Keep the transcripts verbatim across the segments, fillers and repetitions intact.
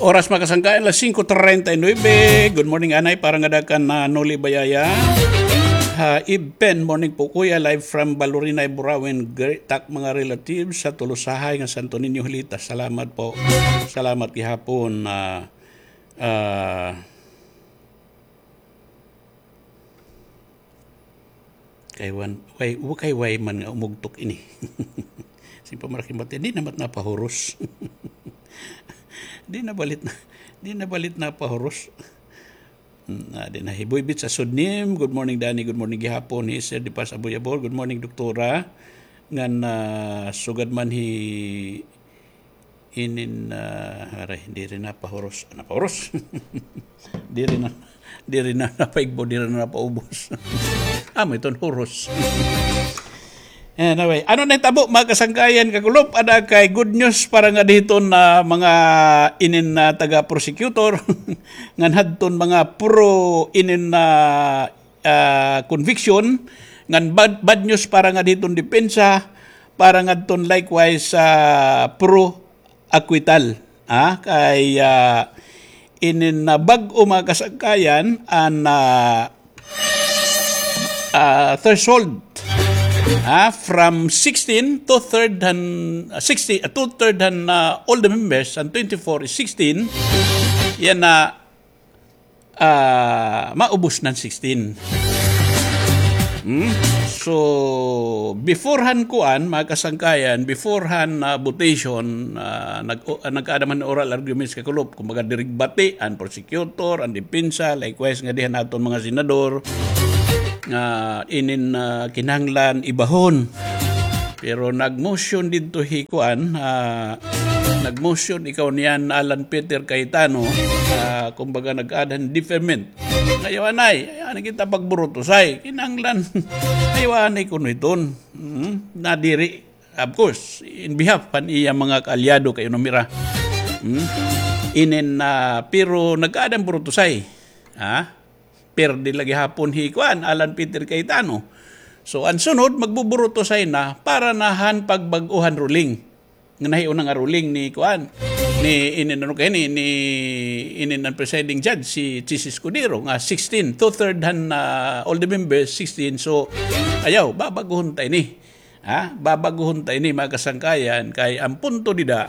Oras, mga kasangkayan, alas singko treinta y nuebe. Good morning, anay, para ngada kan, ah, Noli Bayaya. Ha, Ibpen, morning po, kuya. Live from Balurinay, Burauen. Greet tak mga relatives sa Tolosahay nga Santo Niño, Hilita. Salamat po. Salamat gihapon, ah, ah, Kay wan, way, wa kay way man nga umugtok ini. Sin pamarakimbati, di na mat napahuros. Di na balit na, di na balit napahuros. Hmm, ah, di na. Hiboy Beach sa Sudnim. Good morning, Danny. Good morning gihapon. Hi Sir Di Paz Abuyabor. Good morning, Doktora. Ngan, ah, sugad man hi Inin, ah, aray, diri na pahuros. Napahuros. Diri na, diri na napaigbo, diri na napaubos. Amo iton huros. Anyway, ano na hitabo, mga kasangkayan, kakulop, ada kay good news para ngadi hiton, ah, mga inin na taga-prosecutor, ngan hadton mga pro inin na ah, conviction, ngan bad, bad news para ngadi hiton depensa, para ngadton likewise, ah, pro acquittal. Ah, kay, ah, inin na bag-o, mga kasangkayan, an, ah, ah, threshold, ah, from sixteen, two-third han, ah, sixty, ah, two-third han, ah, all the members, an twenty-four is sixteen, yana, ah, maubos nan sixteen. Hmm? So, before han kuan, mga kasangkayan, before han, ah, votation, ah, nag-, o-, ah, nagkaada man oral arguments kakulop, kumbaga, diri bati an prosecutor, an depensa, likewise ngadi han aton mga senador, nga inin, ah, kinahanglan ibahon. Pero nag-motion didto hi kuan, ah, nag-motion ikaw niyan Alan Peter Cayetano, ah, kumbaga nag-add han deferment. Ayaw anay, ayaw anay kita pagburutosay. Kinahanglan, ayaw anay kuno hiton. Hmm? Nadiri, of course, in behalf han iya mga kaalyado kay unom hira. Hmm? Inin, ah, pero nag-add han burutosay. Ha? Perde la gihapon hi kuan, Alan Peter Cayetano. So, an sunod, magbuburutosay na para na han pagbag-o han ruling. Nga nahiuna nga ruling ni kuan, ni inin ano kay ni, ni inin an presiding judge, si Chiz Escudero, nga sixteen, two-third han, ah, all the members, sixteen. So, ayaw, babaguhon ta ini. Ha? Babaguhon ta ini, mga kasangkayan, kay an punto dida,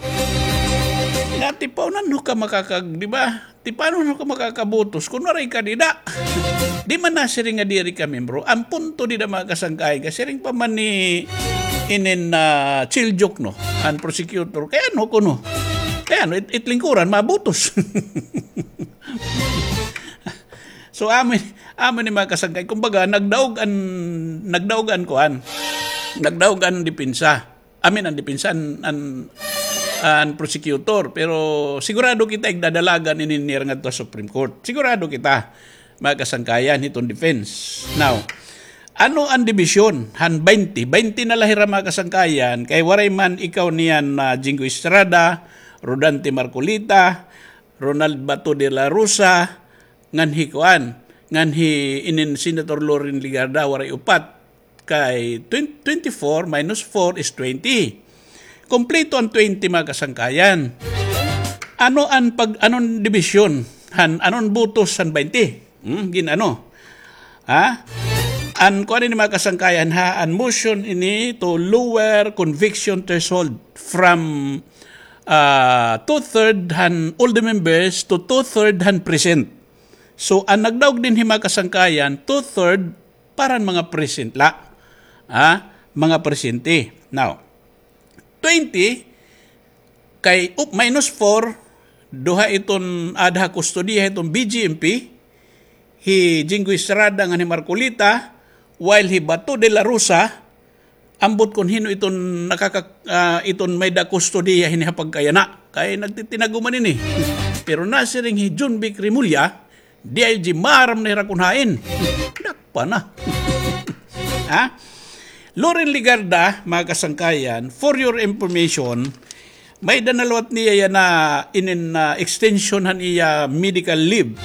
nga tipanon ho ka makakag-, di ba? Tipanon ho ka makakabutos kun waray ka dida. Di man nasiring nga diri ka membro. An punto dida, mga kasangkayan, kay siring pa man ni inin, ah, Chiljuk, no? An prosecutor, kay ano kuno? Kay ano, it-, it lingkuran, mabutos. So, amo, amo ni mga kasangkay. Kumbaga, nagdaog an, nagdaog an kuan. Nagdaog an depensa. I mean, an depensa, an, an, an prosecutor. Pero sigurado kita igdadalagan ini nira ngadto ha Supreme Court. Sigurado kita, mga kasangkayan, hiton defense. Now, ano an dibisyon han baynte? Baynte na la hira, mga kasangkayan, kay waray man ikaw niyan, ah, Jinggoy Estrada, Rodante Marcoleta, Ronald Bato de la Rosa, ngan hi kuan, ngan hi inin Senator Loren Legarda, waray upat. Kay twen-, twenty-four minus four is twenty. Kompleto an twenty, mga kasangkayan. Ano an pag-, anon dibisyon han, anon butos han baynte? Hmm, gin-ano? Ha? An kuan ini, mga kasangkayan, ha, an motion ini to lower conviction threshold from, ah, two-third han all the members to two-third han present. So, an nagdaog dinhi, mga kasangkayan, two-third para han mga present la. Ha? Mga presente. Now, twenty, kay, up, minus four, duha iton aada ha kustodiya hiton B J M P, hi Jinggoy Estrada ngan hi Marcoleta, while hi Bato de la Rosa, ambot kon hin-o iton nakaka-, ah, iton may-ada kustodiya hini ha pagkayana. Kay nagtitinago man ini. Pero nasiring hi Jonvic Remulla, D I G, maaram na hira kon hain. Dakpa na. Ha? Loren Legarda, mga kasangkayan, for your information, may-ada na liwat niya yana inin, ah, extension han iya medical leave.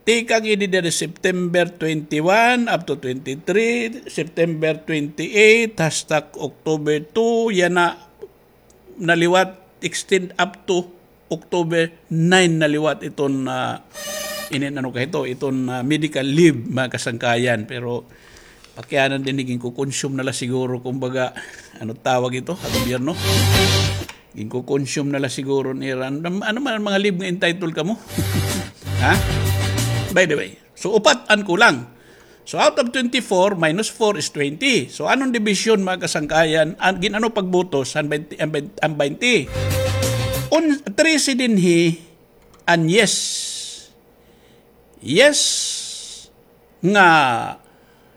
Tikang ini diri September twenty-one up to twenty-three, September twenty-eight, hasta October two, yana naliwat, extend up to October nine na liwat iton, ah, inin ano ka ito, iton, ah, medical leave, mga kasangkayan. Pero pakianan dinhi, ginko-consume na la siguro, kumbaga, ano tawag ito, ha gobyerno? Ginko-consume na la siguro nira. Ano, ano man an mga leave nga entitled kamo? Ha? By the way, so upat an kulang. So, out of twenty-four, minus four is twenty. So, anong division, mga kasangkayan? An, gin-ano pagbutos, an twenty, an twenty, an twenty? Un, trese dinhi, an yes. Yes, nga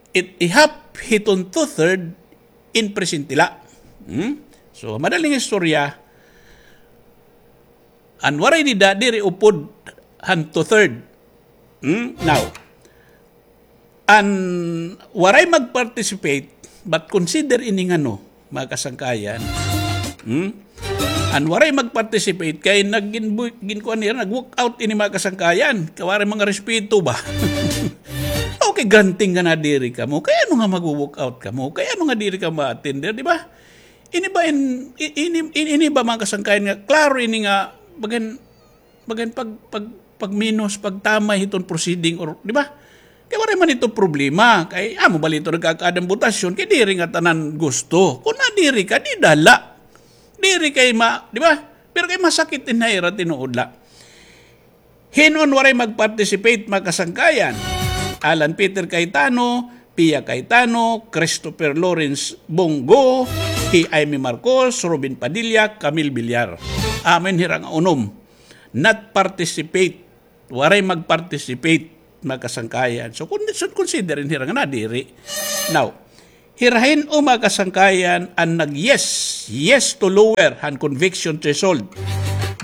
it, ihap hiton two-third in presente la. Hmm? So, madaling istorya, an waray dida, diri upod han two-third. Hmm? Now, an waray mag-participate, but consider ini ngano, mga kasangkayan. Hmm? An waray mag-participate kay nag-, gin-, ginkuan nira, nag-walk out ini, mga kasangkayan. Kay waray mga respeto ba? Okay, granting nga nadiri kamo. Kay ano nga mag-walk out kamo? Kay ano nga diri ka ma-attend, di ba? Ini ba in, i-, ini, ini, ini ba, mga kasangkayan, nga klaro ini nga bagan, bagan pag, pag, pagminos, pagtamay hiton proceeding, or, di ba? Kay waray man ito problema. Kay amo bala ito nagkakaada hin botasyon, kay diri nga tanan gusto. Kon nadiri ka, di dala. Diri kay ma-, di ba? Pero kay masakit in ha ira tinuod la. Hin-o an waray mag-participate, mga kasangkayan? Alan Peter Cayetano, Pia Cayetano, Christopher Lawrence Bong Go, hi Imee Marcos, Robin Padilla, Camille Villar. Amo ini hira nga unom. Not participate. Waray mag-participate, mga kasangkayan. So, kun, so, consider ini hira nga nadiri. Now, hira hin-o, mga kasangkayan, an nag-yes, yes to lower han conviction threshold?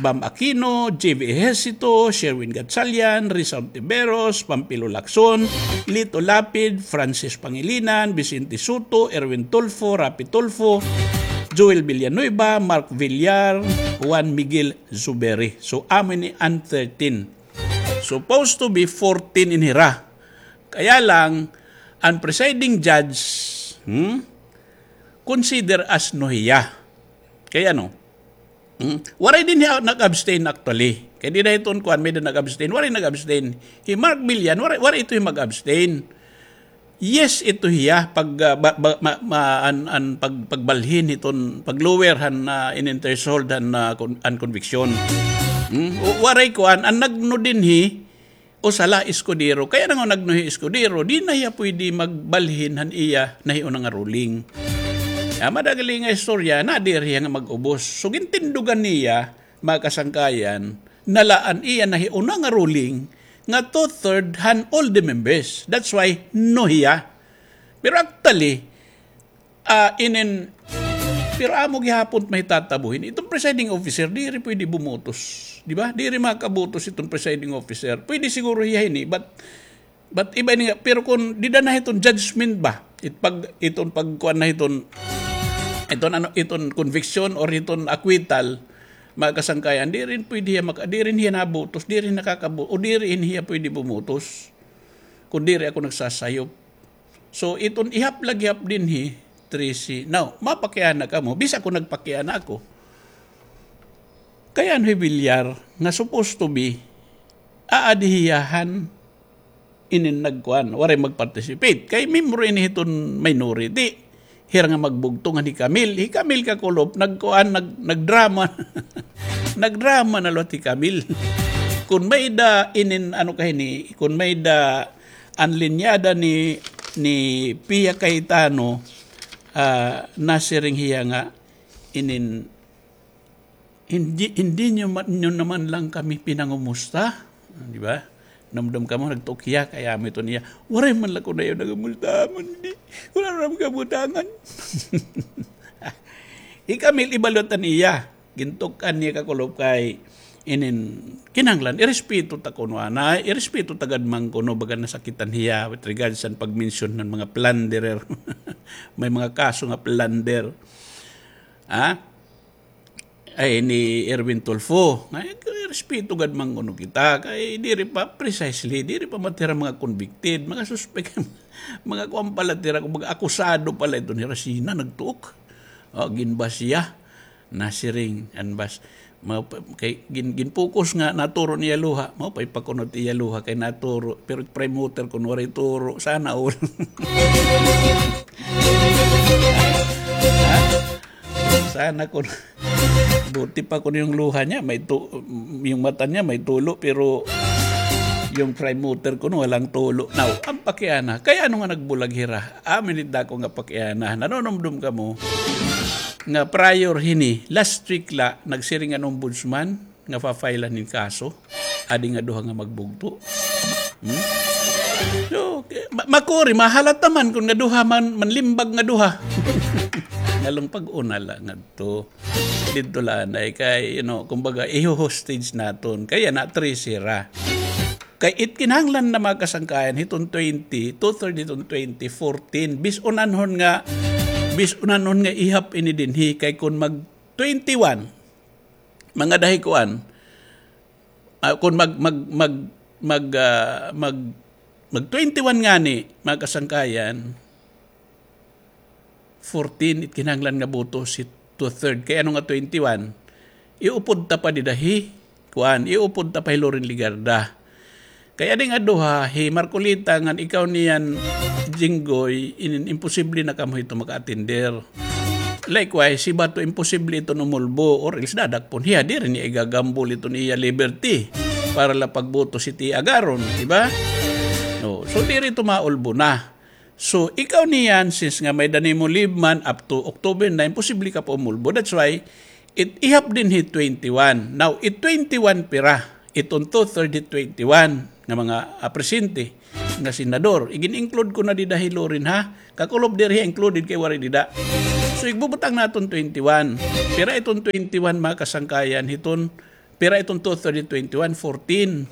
Bam Aquino, J V Ejercito, Sherwin Gatchalian, Risa Hontiveros, Panfilo Lacson, Lito Lapid, Francis Pangilinan, Vicente Sotto, Erwin Tulfo, Raffy Tulfo, Joel Villanueva, Mark Villar, Juan Miguel Zubiri. So, amo ini an thirteen. Supposed to be fourteen in hira. Kaya lang, an presiding judge, hmm, consider as no hiya. Kay ano? Hmm? Waray dinhi nag-abstain actually. Kay dida hiton kuan, may-ada nag-abstain. Waray nag-abstain. Hi Mark Villar, waray, waray ito hi mag-abstain. Yes, ito hiya pag, ah, ba, ba, ma, ma, an, an pag, pagbalhin hiton, pag-lower han, ah, inin threshold han, ah, con-, an conviction. Hmm? O, waray kuan, an nagno dinhi, usa la, Escudero. Kay ano nga nagno hi Escudero, di na hiya pwede magbalhin han iya nahiuna nga ruling. Ah, madagli nga istorya, nadiri hiya nga mag-ubos. So, gintindugan niya, mga kasangkayan, na la an iya nahiuna nga ruling nga two-third han all the members. That's why no hiya. Pero actually, ah, inin, pero amo gihapon it mahitatabo hini. Iton presiding officer, diri pwede bumutos. Di ba? Diri makabutos iton presiding officer. Pwede siguro hiya hini, but But iba ini nga, pero kon dida na hiton judgment ba, it pag, iton pagkuan na hiton, iton ano, iton conviction or iton acquittal, mga kasangkayan, diri pwede hiya maka-, diri hiya nabutos, diri nakakabu-, o diri hiya pwede bumutos. Kon diri ako nagsasayop. So, iton ihap la gihap dinhi, trese. Now, mapakiana kamo, bisan ako nagpakiana ako. Kay ano hi Villar, nga supposed to be, aadi hiya han inin nagkuan, waray mag-participate. Kay membro ini hiton minority. Hira nga magbugto ngan hi Camille. Hi Camille Kakulop, nagkuan, nag-, nagdrama. Nagdrama na liwat hi Camille. Kon may-ada inin, ano ka hini, kon may-ada an linyada ni, ni Pia Cayetano, ah, nasiring hiya nga inin Hindi, hindi niyo ma-, niyo naman lang kami pinangumusta. Di ba? Namdam kamo, nagtuok hiya, kay amo ito niya, "Waray man la kuno iyo nangumusta, man di. Wala naman kabutangan." Hi Camille, iba liwat an iya. Gintuok-an niya Kakulop kay inin, kinahanglan, irespeto ta kuno, ana, irespeto ta gad man kuno, baga nasakitan hiya with regards sa pag-mention han mga plunderer. May mga kaso nga plunder. Ha? Ay, ni Erwin Tulfo. Ay, respeto gad man kuno kita. Kay diri pa, precisely, diri pa man hira mga convicted, mga suspek, mga kuan pa la hira, mga akusado pa la iton hira, sina nagtuok. O, ginbas hiya. Nasiring, an bas, Mao pa, kay gin-, ginpokus nga naturo niya luha. Mao pay pakunot iya luha kay naturo. Pero prime mover kun waray turo. Sana all. Ha? Sana kun buti pa kun yung luha niya, may tu-, yung mata niya may tulo, pero yung prime mover kun walang tulo. Now, an pakiana, kay ano nga nagbulag hira? Amin it dako nga pakiana. Nanunumdom kamo nga prior hini, last week la, nagsiring an ombudsman nga fa-file-an hin kaso. Adi nga duha nga magbugto. Hmm? So, ma-, makuri, mahalata man kun nga duha man, manlimbag nga duha. Ngalong pag-una la ngadto. Didto la anay kay, you know, kumbaga, iho-hostage naton. Kay yana, trese hira. Kay it kinahanglan na mga kasangkayan, hiton twenty, two-third hiton twenty, fourteen. Bis-on anhon nga, bis-on anhon nga ihap ini dinhi. Kay kun mag twenty-one, mga dahi kuan, ah, kun mag, mag, mag, mag, ah, mag, mag twenty-one ngani, mga kasangkayan, fourteen it kinahanglan nga boto si two-third. Kay ano nga twenty-one? Iupod ta pa dida hi, kuan, iupod ta pa hi Loren Legarda. Kay adi nga duha, hi Marcoleta ngan ikaw niyan, Jinggoy, in-, imposible na kamo hito maka-attender. Likewise, si Bato, imposible iton umulbo, or else dadakpon hiya, diri niya igagambol iton iya liberty para la pagboto si T. Agaron, di ba? No. So, diri ito maulbo na. So, ikaw niyan, since nga may danimo leave man up to October nine, posible ka pa umulbo. That's why, it ihap dinhi twenty-one. Now, it twenty-one pira, iton two-third hit twenty-one nga mga, ah, presente nga senador. Igin-include ko na dida hi Loren, ha? Kakulob diri included kay waray dida. So, igbubutang naton twenty-one. Pira iton twenty-one, mga kasangkayan, hiton Pira iton two-third hit twenty-one? Fourteen.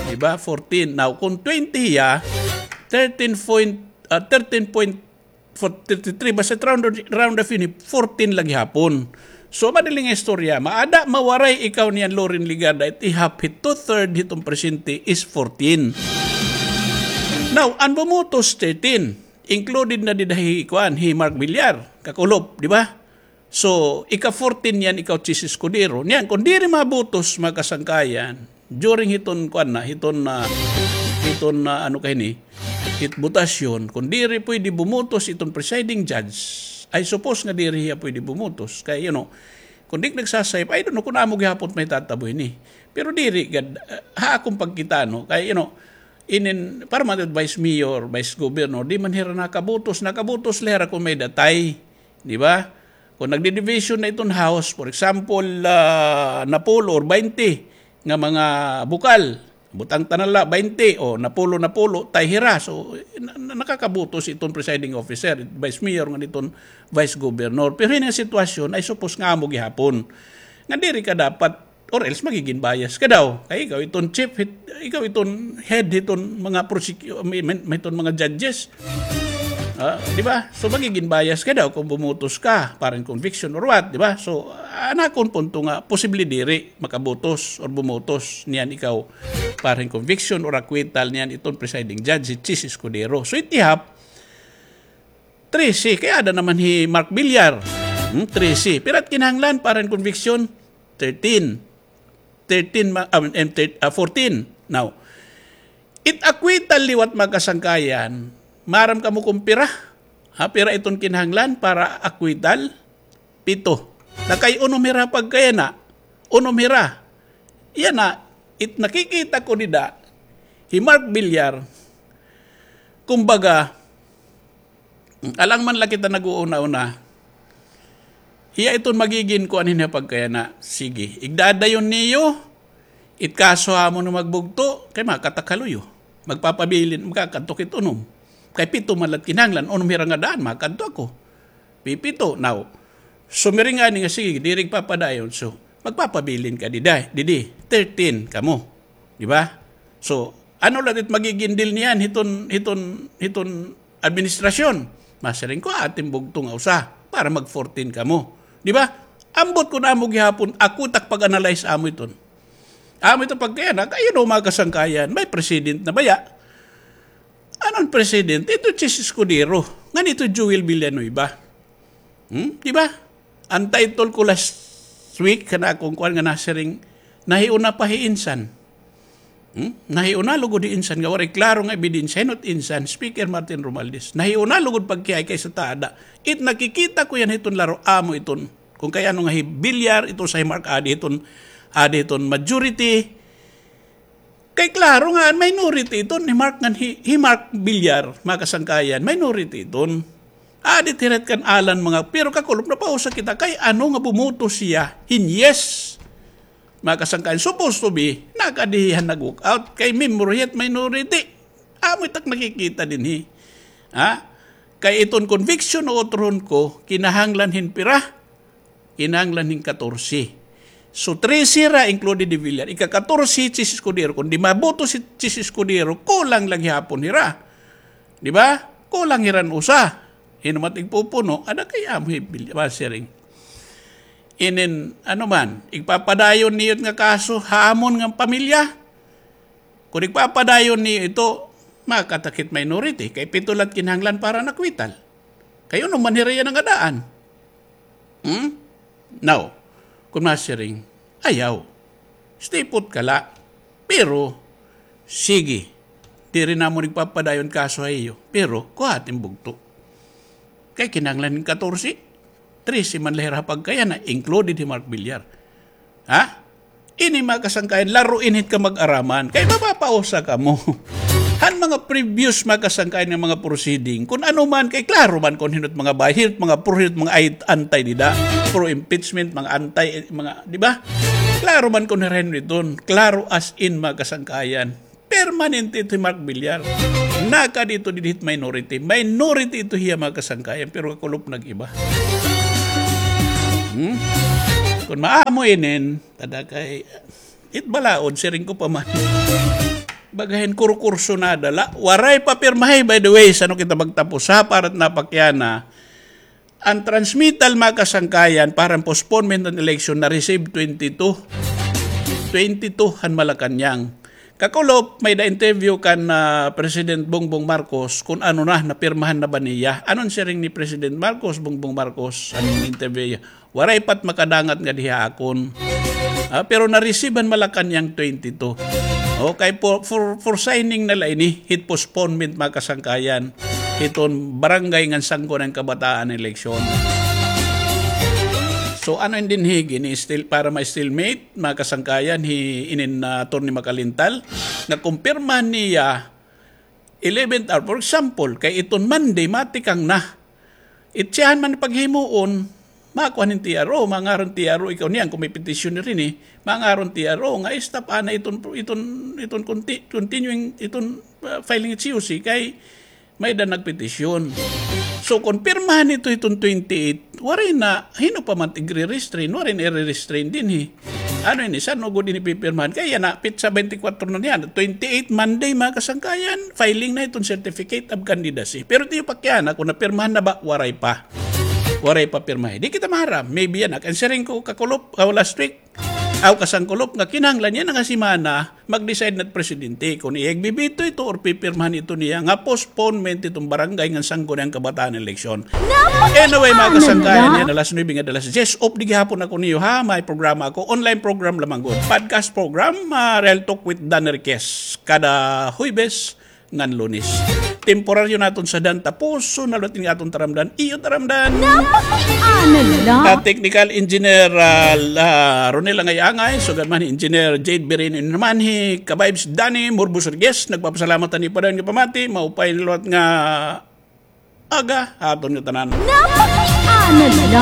Di ba? Fourteen. Now, kung twenty hiya, thirteen point, ah, thirteen point four, thirty-three, basta round, round off ini, fourteen la gihapon. So, madaling istorya, maada, mawaray ikaw niyan Loren Legarda, it ihap hit two-third hiton presente is fourteen. Now, an bumutos, thirteen. Included na dida hi, kuan, hi Mark Villar, kakulop, di ba? So, ika-fourteen niyan, ikaw, Chiz Escudero. Niyan, kung diri mabutos, mga kasangkayan, during hiton, kuan na, hiton, ah, hiton, ah, ano ka hini, hit botasyon, kung diri pwede bumutos iton presiding judge, I suppose nga diri hiya pwede bumutos. Kay, you know, kung di nagsasayop, I don't know kung amo gihapon may tatabo hini. Pero diri gad, ah, ha akong pagkita, no? Kay, you know, inin, para man vice mayor, vice governor, di man hira nakabutos, nakabutos la hira kung may datay. Di ba? Kung nagdi-division na iton House, for example, ah, napulo or baynte nga mga bukal, butang ta na la, baynte, o napulo, napulo, tie hira. So, na-, na-, nakakabutos iton presiding officer, vice mayor ngan iton vice governor. Pero ini nga sitwasyon, I suppose nga amo gihapon. Nga diri ka dapat Or else, magigin bias ka daw. Kay ikaw iton chief, hit-, ikaw iton head hiton mga prosecu-, may, may, may hiton mga judges. Ah, di ba? So, magigin bias ka daw kung bumutos ka, parang conviction or what, di ba? So, an akon punto nga, posible diri makabutos or bumutos niyan ikaw, parang conviction or acquittal niyan iton presiding judge, si Chiz Escudero. So, it ihap, trese, kay ada naman hi Mark Villar. Hmm, trese. Pira it kinahanglan para hin conviction? Thirteen. Thirteen, ma-, ah, em, thir-, ah, fourteen. Now, it acquittal liwat, mga kasangkayan, maaram kamo kung pira? Ha, pira iton kinahanglan para acquittal? Pito. Na kay unom hira pagkayana. Unom hira. Yana, it nakikita ko dida, hi Mark Villar, kumbaga, alang man la kita nag-uuna-una, hiya iton magigin kuan hin pagkayana. Sige, igdadayon niyo, it kaso ha amo nga magbugto, kay makadto ak ha luyo. Magpapabilin, makakadto ak hit unom. Kay pito man la it kinahanglan, unom hira nga daan, makadto ako. Pipito. Now, sumiring ngani nga, sige, diri papadayon. So, magpapabilin ka dida, didi, thirteen kamo. Di ba? So, ano la it magigin deal niyan hiton, hiton, hiton administrasyon? Masiring ko, aton bugto nga usa para mag fourteen kamo. Di ba? Ambot kun amo gihapon, ako it ak pag-analyze amo iton. Amo ito pagkayana, kay, you know, mga kasangkayan, may precedent na baya. Ano an precedent? Ito Chiz Escudero. Ngan ito Joel Villanueva. Hmm? Di ba? An title ko last Last week, kana akon kuan nga nasiring, nahiuna pa hi Insan. Hmm? Nahiuna lugod hi Insan nga waray klaro nga ebidensya, hinot Insan, Speaker Martin Romualdez. Nahiuna lugod pagkihay kaysa ta ada. It nakikita ko yana hiton laro, amo iton. Kon kay ano nga hi Villar, ito sa hi Mark adi hiton, adi hiton majority. Kay klaro nga an minority iton, hi Mark ngan hi, hi Mark Villar, mga kasangkayan, minority iton. Adi it hirit kan Alan mga, pero kakulop napausa kita kay ano nga bumoto siya hin yes. Mga kasangkayan, supposed to be, nakadi hiya nag-walk out kay member hiya it minority. Amo it ak nakikita dinhi. Ha? Kay iton conviction o utrohon ko, kinahanglan hin pira? Kinahanglan hin katorse. So, trese hira included hi Villar. Ika-katorse si Chiz Escudero. Kon di maboto si Chiz Escudero, kulang la gihapon hira. Di ba? Kulang hira hin usa. Hin-o man it igpupuno, ada kay amo hi Villar, masiring. Inin, ano man, igpapadayon niyo it nga kaso ha amon nga pamilya. Kon igpapadayon niyo ito, makatakit minority, kay pito la it kinahanglan para nakwital. Kay unom man hira iya nangadaan. Hmm? Now, kon masiring, ayaw. Stay put ka la. Pero, sige, diri namon igpapadayon kaso ha iyo. Pero, kuha it im bugto. Kay kinahanglan hin katorse, trese man la hira ha pagkayana, included hi Mark Villar. Ha? Ini, mga kasangkayan, laro ini hit kamag-araman. Kay mapapausa kamo. Han mga previous, mga kasangkayan, nga mga proceeding, kon ano man, kay klaro man kon hin-o it mga bahir, mga pro, hin-o it mga ay-, anti dida, pro impeachment, mga anti, mga, di ba? Klaro man kon hin-o iton, klaro as in, mga kasangkayan. Permanente ito hi Mark Villar. Nakadi ito dinhi hit minority. Minority ito hiya, mga kasangkayan, pero kakulop nag-iba. Hmm? Kon maamo inin, tada kay, it balaod, siring ko pa man. Bagahin kurukurso na dala. Waray pa pirmahi, by the way, san-o kita magtapos ha, para it napakiana. An transmittal, mga kasangkayan, para an postponement han election na-receive twenty-two. Twenty-two han Malacañang. Kakulop, may-ada interview kan, ah, President Bongbong Marcos kon ano na, napirmahan na ba niya. Ano an siring ni President Marcos, Bongbong Marcos, an interview niya? Waray pa it makadangat ngadi ha akon. Ah, pero na-receive han Malacañang twenty-two. Okay, for, for, for signing na la ini, hit postponement, mga kasangkayan. Hiton barangay ngan Sangguniang Kabataan eleksyon. So, ano in dinhi, ini still, para ma-stalemate, mga kasangkayan, hi inin, ah, Attorney Macalintal, nga kumpirmahan niya, eleventh hour, for example, kay iton Monday, matikang na. It siyahan man paghimuon, makuha hin T R O, mangaron T R O, ikaw niyan, kon may petition diri ni, mangaron T R O, nga stop ana iton, iton, iton conti-, continuing, iton, ah, filing it C O C, kay may-ada nagpetisyon. So, kon pirmahan ito iton twenty-eight, waray na, hin-o pa man igre-restrain, waray na ire-restrain dinhi. Ano ini, san-o gud ini pipirmahan? Kay yana, petsa twenty-four na niyan, twenty-eight, Monday, mga kasangkayan, filing na iton certificate of candidacy. Pero tiyo pakiana, kon napirmahan na ba, waray pa. Waray pa pirmahi. Di kita maharam, maybe yana. An siring ko, kakulop, ah, last week, aw kasangkulop nga kinahanglan yana nga semana, mag-decide na it presidente kon iya igbibito ito or pipirmahan ito niya nga postponement iton barangay ngan Sangguniang Kabataan eleksyon. Anyway, mga kasangkayan, yana alas nuebe ngan alas diyes, off di gihapon ako niyo, ha, may programa ako, online program lamang gud, podcast program, ah, Real Talk with Dan Enriquez, kada Huwebes ngan Lunes. Temporaryo naton sadhan, tapuson na liwat ini nga aton taramdan. Iyo taramdan. Napakiana la. Ah, technical engineer, ah, la-, Ronel Angay-Angay, sugad man hi Engineer Jade Birino, naman hi Ka-Vibes Danny Morbos Rodriguez, nagpapasalamat han iyo padayon nga pamati, maupay na liwat nga aga ha aton ngatanan. Napakiana la.